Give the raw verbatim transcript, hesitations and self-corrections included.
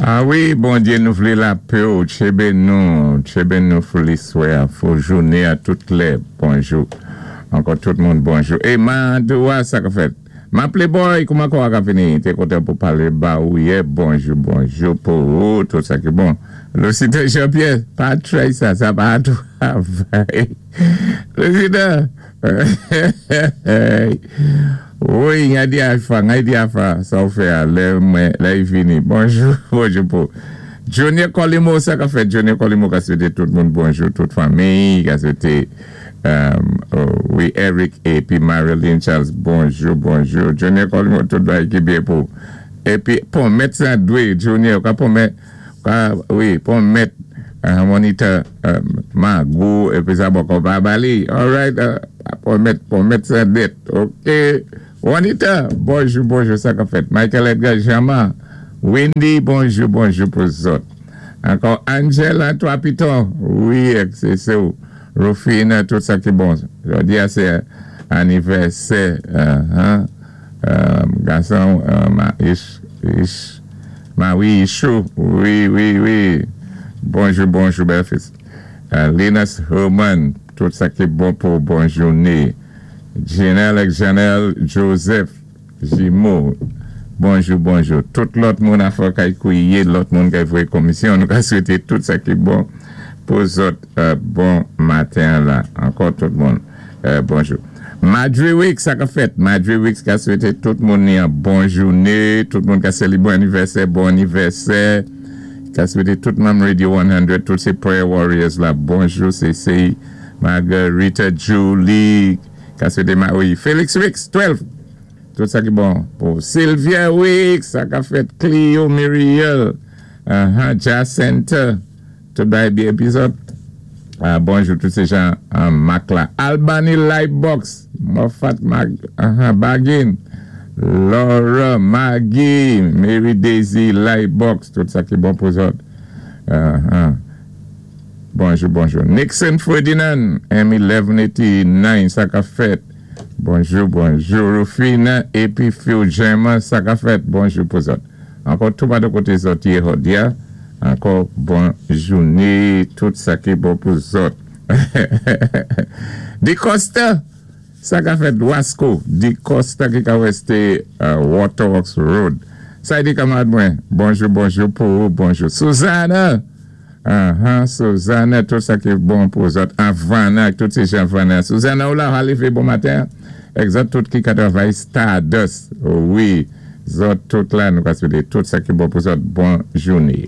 A wi, Bondyé, nou vlé lapè ou, tjébé nou, tjébé nou pou liswè, pou jouné a tout lè, bonjou. Ankò tout moun bonjou. É Mandoua, sa ka fèt. Ma playboy, kouman kwa ka vini? Té kontan pou palé ba ou yè, bonjou, bonjou pou ou, tout sa ki bon. Lucita Jean-Pierre, pa try sa, sa pa travay. Lucita, wi, ngay di alfa, ngay di alfa, sa ou fè a, lè mwen, lè y vini. Bonjou, bonjou pou. Junior Colimo, sa ka fèt, Junior Colimo ka swété tout moun bonjou, tout fanmi, ka swété, um, oh, wi, Eric épi Marilyn Charles, bonjou, bonjou. Junior Colimo, tout bagay ki byen pou. Épi, pwomèt sa dwé, Junior, ka pwomèt, ka, wi, pwomèt, uh, monitor, uh, Magou, épi sa bòkò pa ba li. All right, uh, pwomèt, pwomèt sa dèt, ok. Juanita, bonjou, bonjou, sa ka fèt. Michael Edgar Jama, Wendy, bonjou, bonjou pou zòt. Ankò Angela, twa piton, wi, sé sé ou. Rufina, tout sa ki bon. Jòdi a sé anivèsè, uh, huh, um, gason, uh, ma, ish, ish, ma wi, Ishou, wi, wi, wi. Bonjou, bonjou, bèlfis. Uh, Linus Herman, tout sa ki bon pou bon jouné. Janelle Janelle Joseph, Jimo, bonjou, bonjou. Tout lòt moun a fò kay kouwiyé, lòt moun kay voyé komisyon, nou ka swété tout sa ki bon pou zòt euh, bon maten la. Ankò tout moun, euh, bonjou. Madre Week, sa ka fèt. Madre Week ka swété tout moun ni an bon jouné, tout moun ka séli bon anivèsè, bon anivèsè. Ka swété tout manm Radio san, tout sé Prayer Warriors la, bonjou, sé sé Margarita Julie, ka swété ma, wi, Felix Weeks, douz. Tout sa ki bon pou Sylvia Weeks, sa ka fèt Clio Muriel, uh-huh, Jacinta, tout bagay byen épi zòt. Ah, bonjou tout sé jan an Mac la. Albany Lightbox, Moffat Mag, uh-huh, Bagin, Laura, Maggie, Mary Daisy Lightbox, tout sa ki bon pou zòt. Uh-huh. Bonjou, bonjou. Nixon Ferdinand, M mil mil eighty-nine, sa ka fèt. Bonjou, bonjou. Rufina, épi Phil Gemma, sa ka fèt. Bonjou pou zòt. Ankò tout pa de koté zòt yé jòdi a. Ankò bon jouné, tout sa ki bon pou zòt. Di Costa, sa ka fèt Wasco. Di Costa ki ka wésté uh, Waterworks Road. Sa di kanmarad mwen, bonjou, bonjou pou ou, bonjou. Susanna, uh-huh, Susanna, tout sa ki bon pou zòt. Havana, tout sé jan Havana. Susanna ou la, alivé bon maten. Egzat tout ki ka travay Stardust. Wi, zòt tout la, nou ka swété tout sa ki bon pou zòt. Bon jouné.